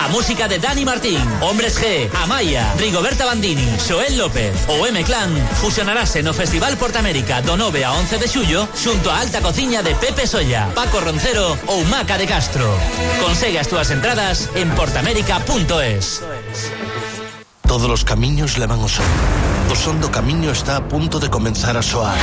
A música de Dani Martín, Hombres G, Amaya, Rigoberta Bandini, Xoel López ou M-Clan fusionarase no Festival Portamérica do 9 a 11 de xullo xunto a Alta Cociña de Pepe Solla, Paco Roncero ou Maca de Castro. Consegue as túas entradas en portamérica.es. Todos los camiños levan o son. O son do camiño está a punto de comenzar a soar.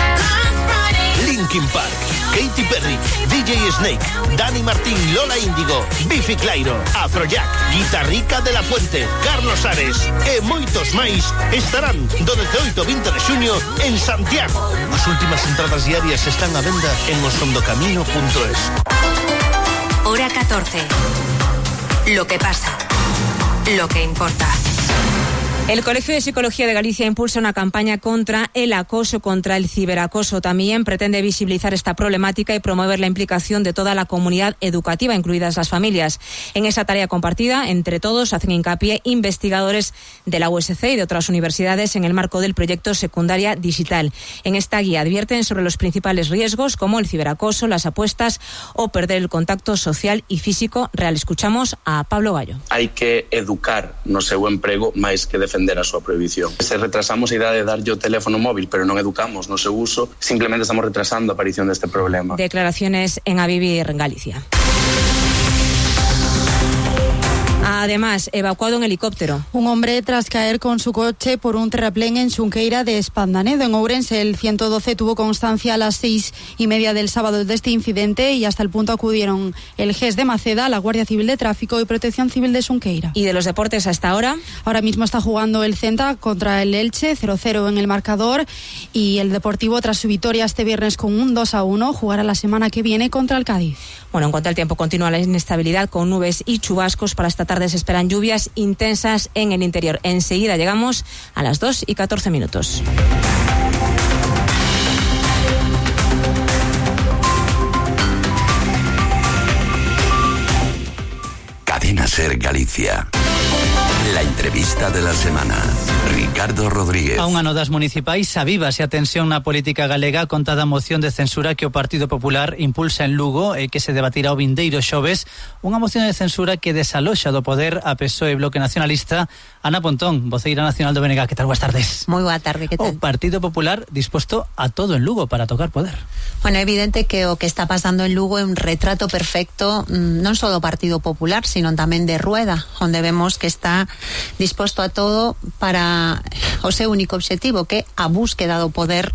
Linkin Park, Katy Perry, DJ Snake, Dani Martín, Lola Índigo, Bifi Clyro, Afrojack, Guitarrica de la Fuente, Carlos Ares e moitos máis estarán do 18 ao 20 de xuño en Santiago. As últimas entradas diarias están a venda en osondocamino.es. Hora 14. Lo que pasa. Lo que importa. El Colegio de Psicología de Galicia impulsa una campaña contra el acoso, contra el ciberacoso. También pretende visibilizar esta problemática y promover la implicación de toda la comunidad educativa, incluidas las familias. En esa tarea compartida, entre todos, hacen hincapié investigadores de la USC y de otras universidades en el marco del proyecto Secundaria Digital. En esta guía advierten sobre los principales riesgos como el ciberacoso, las apuestas o perder el contacto social y físico real. Escuchamos a Pablo Gallo. Hai que educar no seu emprego máis que defender a súa prohibición. Se retrasamos a idade de darlle o teléfono móvil, pero non educamos no seu uso, simplemente estamos retrasando a aparición deste problema. Declaraciones en A Vivir en Galicia. Además, evacuado en helicóptero. Un hombre tras caer con su coche por un terraplén en Xunqueira de Espandanedo, en Ourense. El 112 tuvo constancia a las 6:30 del sábado de este incidente y hasta el punto acudieron el GES de Maceda, la Guardia Civil de Tráfico y Protección Civil de Xunqueira. ¿Y de los deportes hasta ahora? Ahora mismo está jugando el Celta contra el Elche, 0-0 en el marcador, y el Deportivo, tras su victoria este viernes con un 2-1, jugará la semana que viene contra el Cádiz. Bueno, en cuanto al tiempo, continúa la inestabilidad con nubes y chubascos. Para esta tarde se esperan lluvias intensas en el interior. Enseguida llegamos a las 2:14. Cadena Ser Galicia. La entrevista de la semana. Ricardo Rodríguez. A un ano das municipais avívase a tensión na política galega con toda a moción de censura que o Partido Popular impulsa en Lugo e que se debatirá o vindeiro xoves. Unha moción de censura que desaloxa do poder a PSOE e Bloque Nacionalista. Ana Pontón, voceira nacional do BNG, que tal? Boas tardes. Moi boa tarde, que tal? O Partido Popular disposto a todo en Lugo para tocar poder. Bueno, é evidente que o que está pasando en Lugo é un retrato perfecto non só do Partido Popular, sino tamén de Rueda, onde vemos que está disposto a todo para o seu único obxectivo, que é a búsqueda do poder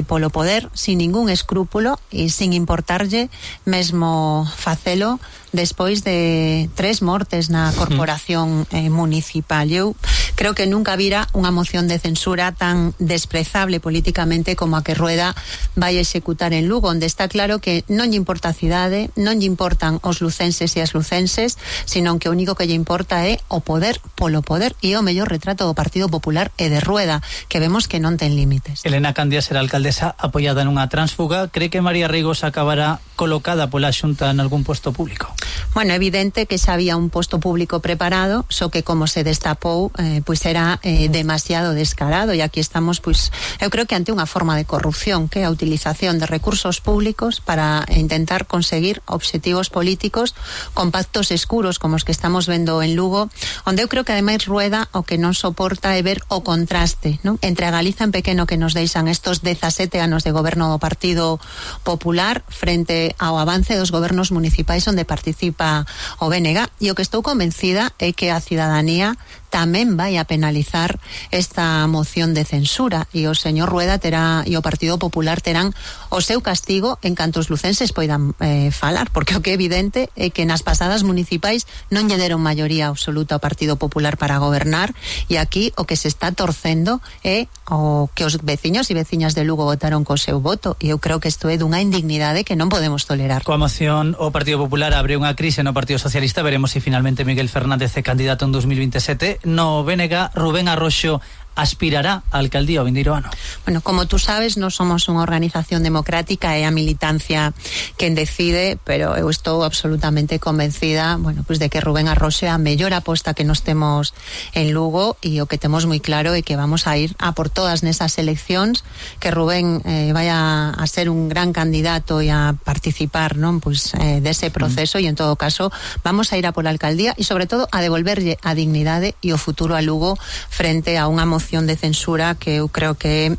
polo poder, sin ningún escrúpulo e sin importarlle mesmo facelo despois de 3 mortes na corporación municipal. Eu creo que nunca vira unha moción de censura tan desprezable políticamente como a que Rueda vai executar en Lugo, onde está claro que non lle importa a cidade, non lle importan os lucenses e as lucenses, sino que o único que lle importa é o poder polo poder, e é o mellor retrato do Partido Popular e de Rueda, que vemos que non ten límites. Elena Candia será alcaldesa apoiada nunha tránsfuga. Cree que María Reigos acabará colocada pola Xunta en algún posto público? Bueno, é evidente que xa había un posto público preparado, só que como se destapou, pois era demasiado descarado, e aquí estamos, pois, eu creo que ante unha forma de corrupción, que é a utilización de recursos públicos para intentar conseguir obxectivos políticos con pactos escuros como os que estamos vendo en Lugo, onde eu creo que ademais Rueda o que non soporta é ver o contraste, non? Entre a Galiza en pequeno que nos deixan estos 17 anos de goberno do Partido Popular frente ao avance dos gobernos municipais onde participa o BNG, e o que estou convencida é que a cidadanía tamén vai a penalizar esta moción de censura, e o señor Rueda terá e o Partido Popular terán o seu castigo en canto os lucenses poidan falar, porque o que é evidente é que nas pasadas municipais non lle deron maioría absoluta ao Partido Popular para gobernar, e aquí o que se está torcendo é o que os veciños e veciñas de Lugo votaron co seu voto, e eu creo que isto é dunha indignidade que non podemos tolerar. Coa moción, o Partido Popular abre unha crise no Partido Socialista. Veremos se finalmente Miguel Fernández é candidato en 2027. No BNG, Rubén Arroxo aspirará á alcaldía o vindeiro ano. Bueno, como tú sabes, non somos unha organización democrática, é a militancia quen decide, pero eu estou absolutamente convencida, bueno, pues de que Rubén Arroxo é a mellor aposta que nos temos en Lugo, e o que temos moi claro é que vamos a ir a por todas nesas eleccións, que Rubén vaya a ser un gran candidato e a participar, non, pues dese proceso, e en todo caso vamos a ir a pola alcaldía e sobre todo a devolverlle a dignidade e o futuro a Lugo frente a unha moción de censura que eu creo que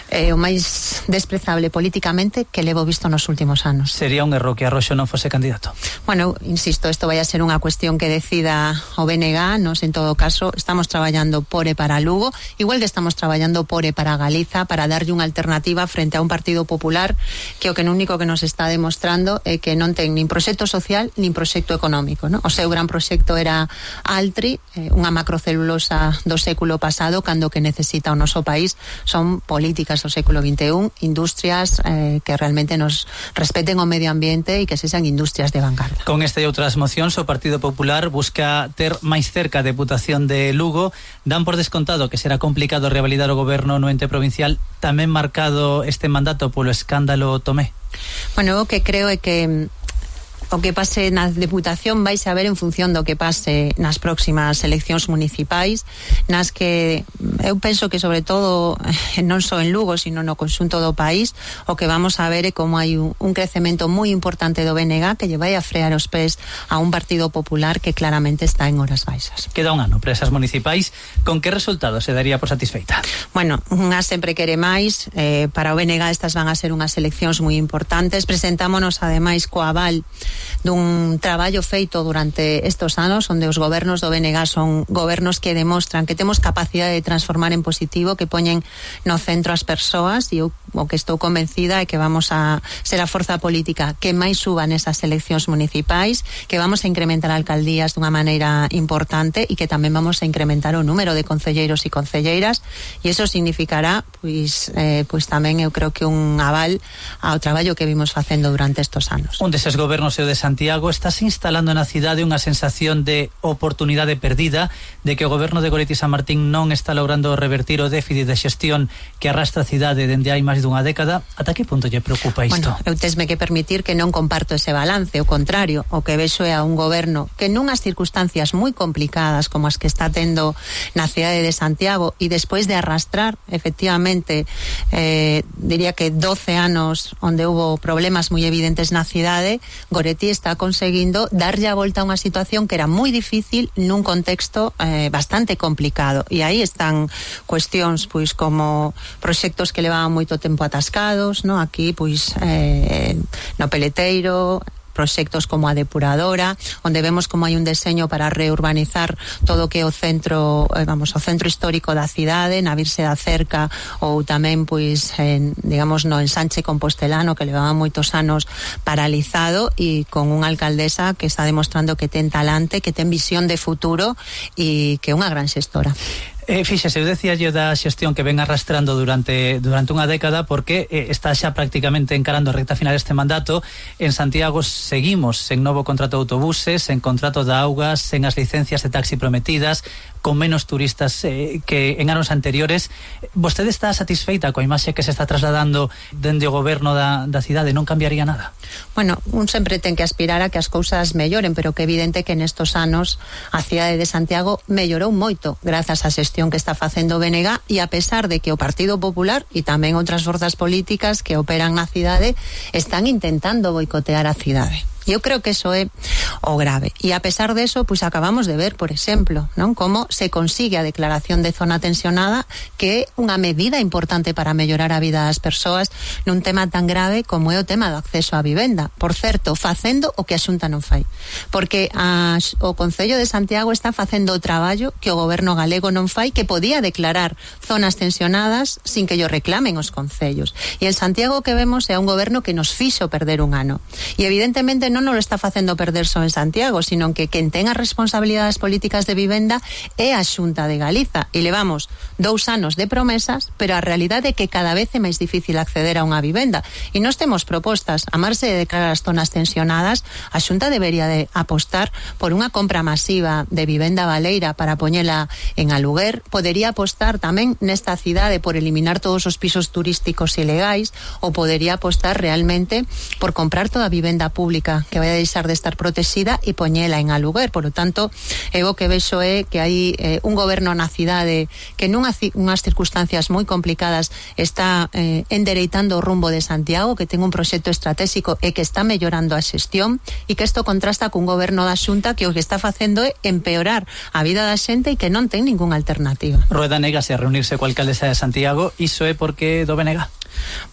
é o máis desprezable políticamente que levo visto nos últimos anos. Sería un erro que Arroxo non fose candidato? Bueno, insisto, isto vai a ser unha cuestión que decida o BNG, nos en todo caso estamos traballando por e para Lugo, igual que estamos traballando por e para Galiza, para darlle unha alternativa frente a un Partido Popular que o que único que nos está demostrando é que non ten nin proxecto social nin proxecto económico, non? O seu gran proxecto era Altri, unha macrocelulosa do século pasado, cando que necesita o noso país son políticas do século XXI, industrias que realmente nos respeten o medio ambiente e que sexan industrias de vanguardia. Con esta e outras mocións, o Partido Popular busca ter máis cerca a Deputación de Lugo. Dan por descontado que será complicado revalidar o goberno no ente provincial, tamén marcado este mandato polo escándalo Tomé. Bueno, o que creo é que o que pase na Deputación vai saber en función do que pase nas próximas eleccións municipais, nas que eu penso que sobre todo non só en Lugo, sino no conxunto do país, o que vamos a ver é como hai un crecemento moi importante do BNG que lle vai a frear os pés a un Partido Popular que claramente está en horas baixas. Queda un ano para esas municipais. Con que resultado se daría por satisfeita? Bueno, unha sempre quere máis. Para o BNG estas van a ser unhas eleccións moi importantes. Presentámonos ademais co aval dun traballo feito durante estos anos, onde os gobernos do BNG son gobernos que demostran que temos capacidade de transformar en positivo, que poñen no centro as persoas, e eu o que estou convencida é que vamos a ser a forza política que máis suba nesas eleccións municipais, que vamos a incrementar alcaldías dunha maneira importante e que tamén vamos a incrementar o número de concelleiros e concelleiras, e iso significará pois tamén eu creo que un aval ao traballo que vimos facendo durante estos anos. Un deses gobernos é o de Santiago. Estás instalando na cidade unha sensación de oportunidade perdida, de que o goberno de Goretti San Martín non está logrando revertir o déficit de xestión que arrastra a cidade dende hai máis dunha década. Ata que punto lle preocupa isto? Bueno, eu tesme que permitir que non comparto ese balance, o contrario, o que vexo é a un goberno que nunhas circunstancias moi complicadas como as que está tendo na cidade de Santiago, e despois de arrastrar efectivamente diría que 12 anos onde hubo problemas moi evidentes na cidade, Goretti está conseguindo darlle a volta a unha situación que era moi difícil nun contexto bastante complicado, e aí están cuestións pois como proxectos que levaban moito tempo atascados, no? Aquí pois no Peleteiro, proxectos como a depuradora, onde vemos como hai un deseño para reurbanizar todo o que é o centro, o centro histórico da cidade, na Virxe da Cerca, ou tamén pois digamos no ensanche compostelano, que levaba moitos anos paralizado, e con unha alcaldesa que está demostrando que ten talante, que ten visión de futuro e que é unha gran xestora. Fíxese, eu decía yo da xestión que ven arrastrando durante unha década, porque está xa prácticamente encarando a recta final deste mandato. En Santiago seguimos sen novo contrato de autobuses, sen contrato de augas, sen as licencias de taxi prometidas, con menos turistas que en anos anteriores. Vostede está satisfeita coa imaxe que se está trasladando dende o goberno da cidade? Non cambiaría nada? Bueno, un sempre ten que aspirar a que as cousas melloren, pero que é evidente que nestos anos a cidade de Santiago mellorou moito grazas á xestión que está facendo o BNG, e a pesar de que o Partido Popular e tamén outras forzas políticas que operan na cidade están intentando boicotear a cidade. Eu creo que eso é o grave. E a pesar de eso, pues acabamos de ver, por exemplo, non, como se consigue a declaración de zona tensionada, que é unha medida importante para mellorar a vida das persoas nun tema tan grave como é o tema do acceso á vivenda. Por certo, facendo o que a Xunta non fai. Porque o Concello de Santiago está facendo o traballo que o goberno galego non fai, que podía declarar zonas tensionadas sin que yo reclamen os concellos. E en Santiago o que vemos é un goberno que nos fixo perder un ano. E evidentemente xente non nos está facendo perder só en Santiago, sino que quen ten as responsabilidades políticas de vivenda é a Xunta de Galiza, e levamos 2 anos de promesas, pero a realidade é que cada vez é máis difícil acceder a unha vivenda, e nós temos propostas. A marxe de declarar as zonas tensionadas, a Xunta debería de apostar por unha compra masiva de vivenda baleira para poñela en aluguer, podería apostar tamén nesta cidade por eliminar todos os pisos turísticos ilegais, ou podería apostar realmente por comprar toda a vivenda pública que vai a deixar de estar protexida e poñela en aluguer. Por lo tanto, o que vexo é que hai un goberno na cidade que nunhas circunstancias moi complicadas está endereitando o rumbo de Santiago, que ten un proxecto estratégico e que está mellorando a xestión, e que isto contrasta cun goberno da Xunta que o que está facendo é empeorar a vida da xente e que non ten ningunha alternativa. Rueda negase a reunirse coa alcaldesa de Santiago, iso é porque do BNG?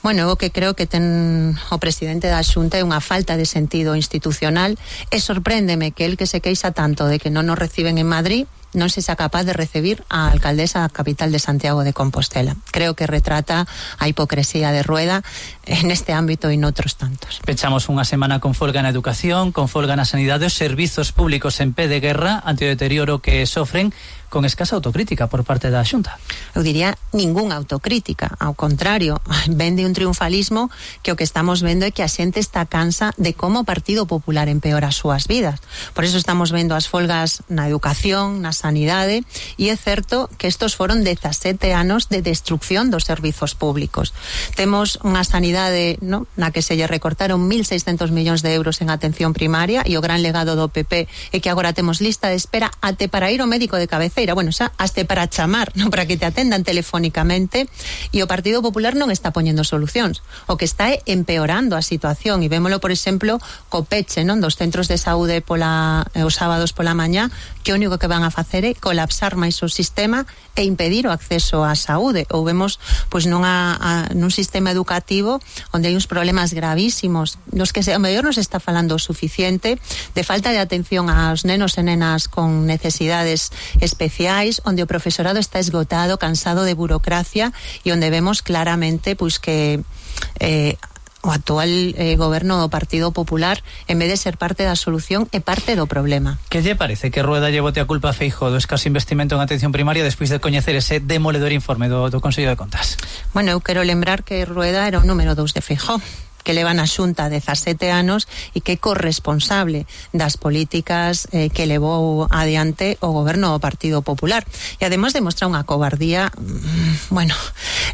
Bueno, o que creo que ten o presidente da Xunta é unha falta de sentido institucional, e sorpréndeme que el que se queixa tanto de que non nos reciben en Madrid non se sea capaz de recibir a alcaldesa da capital de Santiago de Compostela. Creo que retrata a hipocresía de Rueda en este ámbito e noutros tantos. Pechamos unha semana con folga na educación, con folga na sanidade, os servizos públicos en pé de guerra ante o deterioro que sofren, con escasa autocrítica por parte da Xunta. Eu diría ningunha autocrítica, ao contrario, vende un triunfalismo que o que estamos vendo é que a xente está cansa de como o Partido Popular empeora as súas vidas. Por eso estamos vendo as folgas na educación, na sanidade, e é certo que estos foron 17 anos de destrucción dos servizos públicos. Temos unha sanidade, no, na que se lle recortaron 1.600 millóns de euros en atención primaria, e o gran legado do PP é que agora temos lista de espera até para ir ao médico de cabeceira, bueno, xa, hasta para chamar, non, para que te atendan telefónicamente, e o Partido Popular non está poñendo solucións. O que está é empeorando a situación, e vémolo, por exemplo, co peche, non, dos centros de saúde os sábados pola mañá, que o único que van a facer é colapsar máis o sistema e impedir o acceso á saúde. Ou vemos, pois, nun sistema educativo onde hai uns problemas gravísimos, nos que a mellor non se está falando o suficiente, de falta de atención aos nenos e nenas con necesidades especiais, onde o profesorado está esgotado, cansado de burocracia, e onde vemos claramente, pois, que o actual goberno do Partido Popular, en vez de ser parte da solución, é parte do problema. Que lle parece que Rueda lle bote a culpa a Feijóo do escaso investimento en atención primaria despois de coñecer ese demoledor informe do Consello de Contas? Bueno, eu quero lembrar que Rueda era o número 2 de Feijóo, que leva na Xunta 17 anos e que é corresponsable das políticas que levou adiante o goberno do Partido Popular. E ademais demostra unha cobardía, bueno,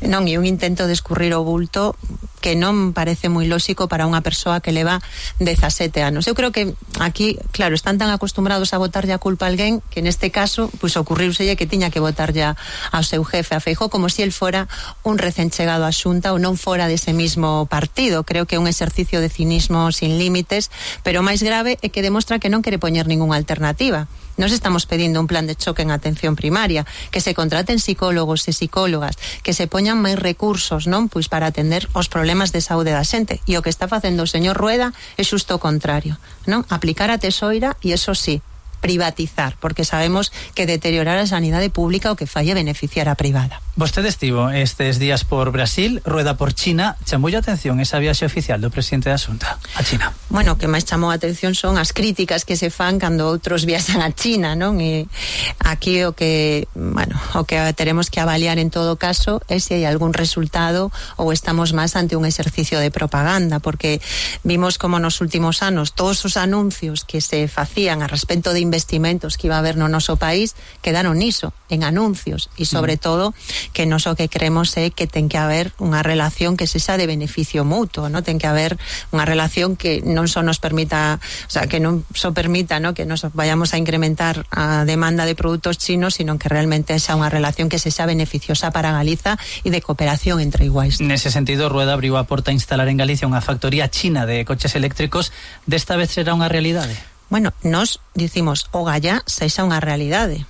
non, e un intento de escurrir o bulto que non parece moi lóxico para unha persoa que leva 17 anos. Eu creo que aquí, claro, están tan acostumbrados a botarlle a culpa a alguén que neste caso, pois ocurriuselle que tiña que botarlle ao seu jefe, a Feijóo, como se el fora un recén chegado á Xunta ou non fora dese mismo partido. Creo que é un exercicio de cinismo sin límites, pero o máis grave é que demostra que non quere poñer ningunha alternativa. Nos estamos pedindo un plan de choque en atención primaria, que se contraten psicólogos e psicólogas, que se poñan máis recursos, non, pois para atender os problemas de saúde da xente. E o que está facendo o señor Rueda é xusto o contrario, non? Aplicar a tesoira e, eso sí, privatizar, porque sabemos que deteriorar a sanidade pública o que fai é beneficiar a privada. Vostede estivo estes días por Brasil, Rueda por China. Chamou a atención esa viaxe oficial do presidente da Xunta a China? Bueno, o que máis chamou a atención son as críticas que se fan cando outros viaxan a China, non? E aquí o que teremos que avaliar en todo caso é se hai algún resultado ou estamos máis ante un exercicio de propaganda, porque vimos como nos últimos anos todos os anuncios que se facían a respecto de investimentos que iba a haber no noso país quedaron niso, en anuncios, e sobre todo que nos o que creemos é que ten que haber unha relación que sexa de beneficio mutuo, ¿no? Ten que haber unha relación que non só nos permita, o sea, que non só permita, ¿no?, que nos vayamos a incrementar a demanda de produtos chinos, sino que realmente xa unha relación que sexa beneficiosa para Galiza e de cooperación entre iguais. Nese sentido, Rueda abriu a porta a instalar en Galicia unha factoría china de coches eléctricos. Desta vez será unha realidade? Bueno, nos dicimos ogallá sexa unha realidade,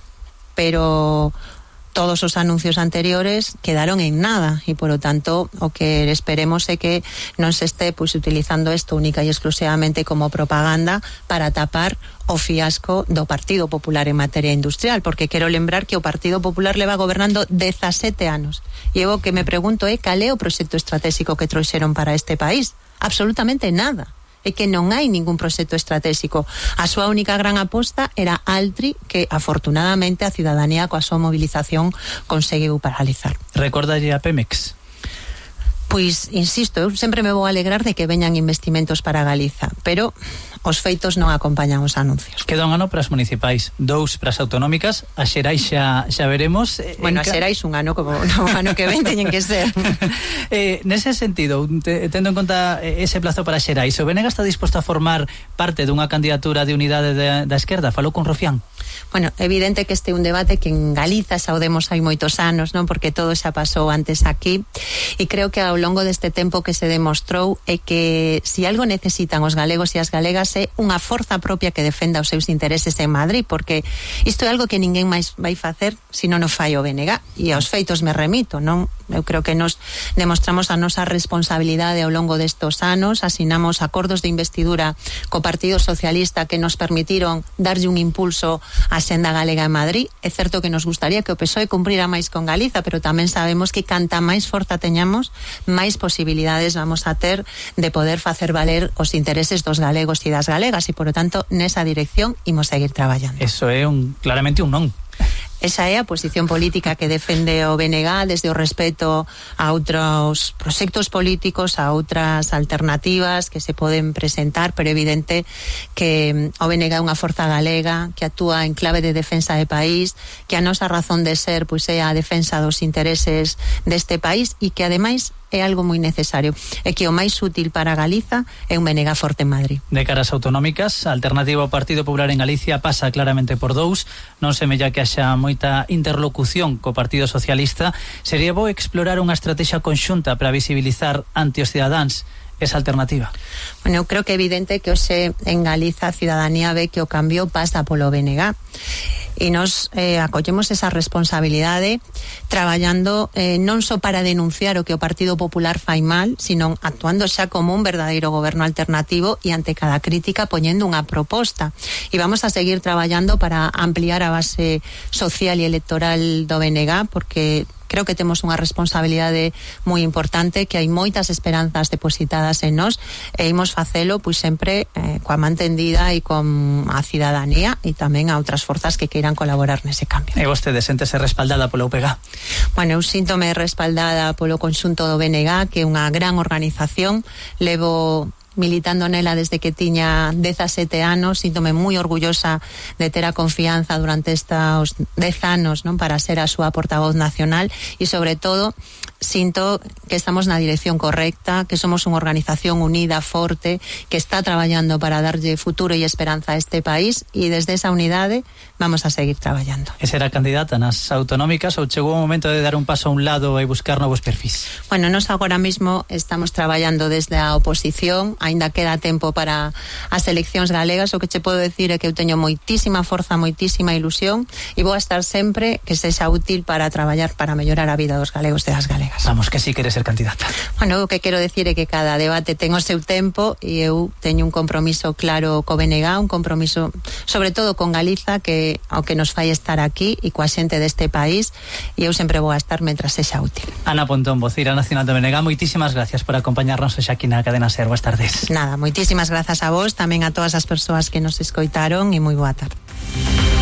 pero todos os anuncios anteriores quedaron en nada, e por lo tanto o que esperemos é que non se este pois utilizando isto única e exclusivamente como propaganda para tapar o fiasco do Partido Popular en materia industrial, porque quero lembrar que o Partido Popular leva gobernando 17 anos, e o que me pregunto é cal é o proxecto estratégico que trouxeron para este país. Absolutamente nada. é que non hai ningún proxecto estratégico. A súa única gran aposta era Altri, que afortunadamente a cidadanía coa súa movilización conseguiu paralizar. Recordalle a Pemex? Pois, insisto, eu sempre me vou alegrar de que veñan investimentos para Galiza, pero os feitos non acompañan os anuncios. Queda un ano para as municipais, 2 para as autonómicas, a xerais xa veremos. Bueno, a xerais un ano, como no ano que ven teñen que ser. Nese sentido, tendo en conta ese plazo para xerais, o Benega está disposto a formar parte dunha candidatura de unidade da esquerda? Falou con Rufián? Bueno, evidente que este é un debate que en Galiza saudemos hai moitos anos, non? Porque todo xa pasou antes aquí, e creo que ao longo deste tempo que se demostrou é que se algo necesitan os galegos e as galegas é unha forza propia que defenda os seus intereses en Madrid, porque isto é algo que ninguén máis vai facer se non o fai o BNG, e aos feitos me remito, non? Eu creo que nos demostramos a nosa responsabilidade ao longo destos anos, asinamos acordos de investidura co Partido Socialista que nos permitiron darlle un impulso á senda galega en Madrid. É certo que nos gustaría que o PSOE cumprira máis con Galiza, pero tamén sabemos que canta máis forza teñamos, máis posibilidades vamos a ter de poder facer valer os intereses dos galegos e das galegas, e, por lo tanto, nesa dirección imos seguir traballando. Eso é claramente un non. Esa é a posición política que defende o BNG desde o respeto a outros proxectos políticos, a outras alternativas que se poden presentar, pero evidente que o BNG é unha forza galega que actúa en clave de defensa de país, que a nosa razón de ser pois é a defensa dos intereses deste país, e que ademais é algo moi necesario, é que o máis útil para Galiza é un BNG forte en Madrid. De caras autonómicas, a alternativa ao Partido Popular en Galicia pasa claramente por 2, non semella que haxa moita interlocución co Partido Socialista. Sería bo explorar unha estrategia conxunta para visibilizar ante os cidadáns esa alternativa? Bueno, eu creo que é evidente que hoxe en Galiza a cidadanía ve que o cambio pasa polo BNG, e nos acollemos esa responsabilidade traballando non só para denunciar o que o Partido Popular fai mal, sino actuando xa como un verdadeiro goberno alternativo e ante cada crítica poñendo unha proposta, e vamos a seguir traballando para ampliar a base social e electoral do BNG, porque creo que temos unha responsabilidade moi importante, que hai moitas esperanzas depositadas en nós, e imos facelo pois sempre coa man tendida e con a cidadanía e tamén a outras forzas que queiran colaborar nese cambio. E vostede séntese respaldada polo UPG? Bueno, eu síntome respaldada polo conxunto do BNG, que é unha gran organización, levo militando nela desde que tiña 17 anos, síntome moi orgullosa de ter a confianza durante estos 10 anos, non, para ser a súa portavoz nacional, e sobre todo sinto que estamos na dirección correcta, que somos unha organización unida, forte, que está traballando para darlle futuro e esperanza a este país, e desde esa unidade vamos a seguir traballando. E será candidata nas autonómicas ou chegou o momento de dar un paso a un lado e buscar novos perfis? Bueno, nós agora mismo estamos traballando desde a oposición, aínda queda tempo para as eleccións galegas. O que che podo decir é que eu teño moitísima forza, moitísima ilusión, e vou a estar sempre que sexa útil para traballar para mellorar a vida dos galegos e das galegas. Vamos, que si queres ser candidata. Bueno, o que quero decir é que cada debate ten o seu tempo, e eu teño un compromiso claro co BNG, un compromiso sobre todo con Galiza, que ao que nos fai estar aquí e coa xente deste país, e eu sempre vou a estar mentras sexa útil. Ana Pontón, vocira nacional do BNG, moitísimas gracias por acompañarnos hoxe aquí na Cadena Ser. Boas tardes. Nada, moitísimas grazas a vos, tamén a todas as persoas que nos escoitaron, e moi boa tarde.